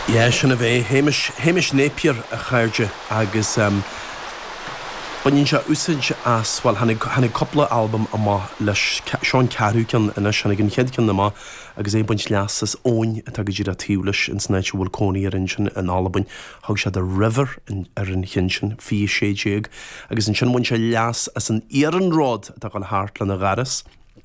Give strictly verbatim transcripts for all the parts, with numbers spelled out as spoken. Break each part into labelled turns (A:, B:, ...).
A: Yeah, sin a bhé Hamish Hamish Napier a chairde agus um, Baineann sé úsáid as well tháinig tháinig cúpla albam amach leis seo an ceathrú ceann anois tháinig an chéad cheann amach agus é ag baint leas as abhainn atá go díreach taobh leis in san áit a bhfuil cónaí air ansin in Albain thug sé The River in, ar an cheann sin fiche sé déag agus ansin bhain sé leas as an iarnród atá ag dul thart lena gharas.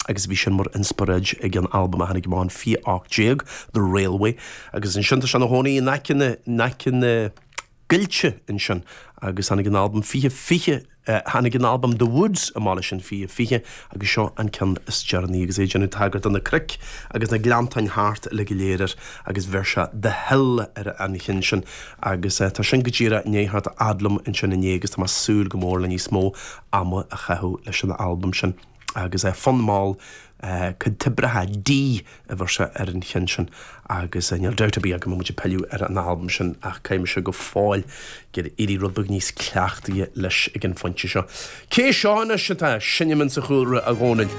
A: agus bhí sin mar inspioráid ag an albam a tháinig amach in fiche ocht déag The Railway agus ansin tá sé ina chónaí in aice na in aice na gcoillte ansin agus tháinig an albam fiche fiche tháinig an albam The Woods amach leis in fiche fiche agus seo an ceann is deireanaí agus é ag déanamh tagairt do na cnoic agus na gleanntáin thart le go léir air agus bheir sé The Hill ar an cheann sin agus uh, tá sin go díreach i ndiaidh theacht fhad liom ansin inné agus tá mé ag súil go mór le níos mó ama a chaitheamh leis an albam sin agus é fonn mall Toibreacha D a bheir sé ar an cheann sin agus níl dabht ar bith go mbeidh muid ag pilleadh ar an albam sin ach caithfidh sé go fóill gur éirí rud beag níos cleachtaithe leis ag an phointe seo. Cé seo anois atá ag seinm sa chúlra a Dhónaill.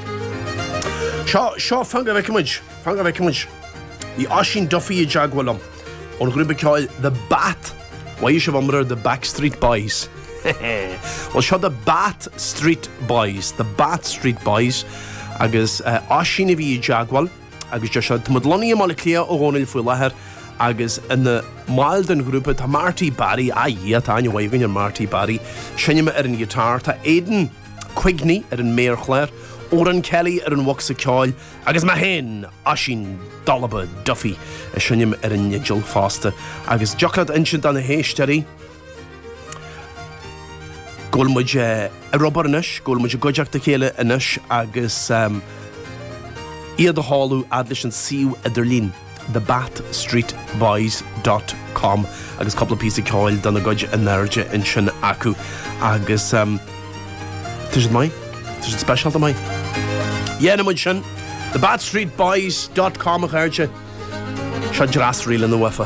A: Seo seo fan go bhfeicfidh muid, fan go bhfeicfidh muid. Bhí Oisín Duffy i dteagmháil liom ón ghrúpa ceoil The Bat Bhí sibh amar the Backstreet Boys. Well seo the Bat Street Boys, the Bat Street Boys agus uh, Oisín a bhí i dteagmháil agus deir sé tá muid lonnaithe i mBaile Átha Cliath a Dhónaill faoi láthair agus ina mbaill den ghrúpa tá Marty Barry a dhia tá aithne mhaith ar Marty Barry seinm ar an guitar tá Aidan Quigney ar an méarchlár, Oran Kelly ar an bhosca ceoil agus mé féin Oisín Dalaba Duffy ag seinm ar an fhidil fosta agus deochlad insint an na héisteoirí go bhfuil muid ar obair anois, go bhfuil muid i gcuideachta chéile anois agus um, iad a sheoladh fhad leis an suíomh idirlín thebatstreetboys.com agus cúpla píosa ceoil dona gcuid in airde ansin acu agus um, Tá siad maith Tá siad speisialta maith. Dhéana sin thebatstreetboys.com a chairde seo dreas rí lena bhfa.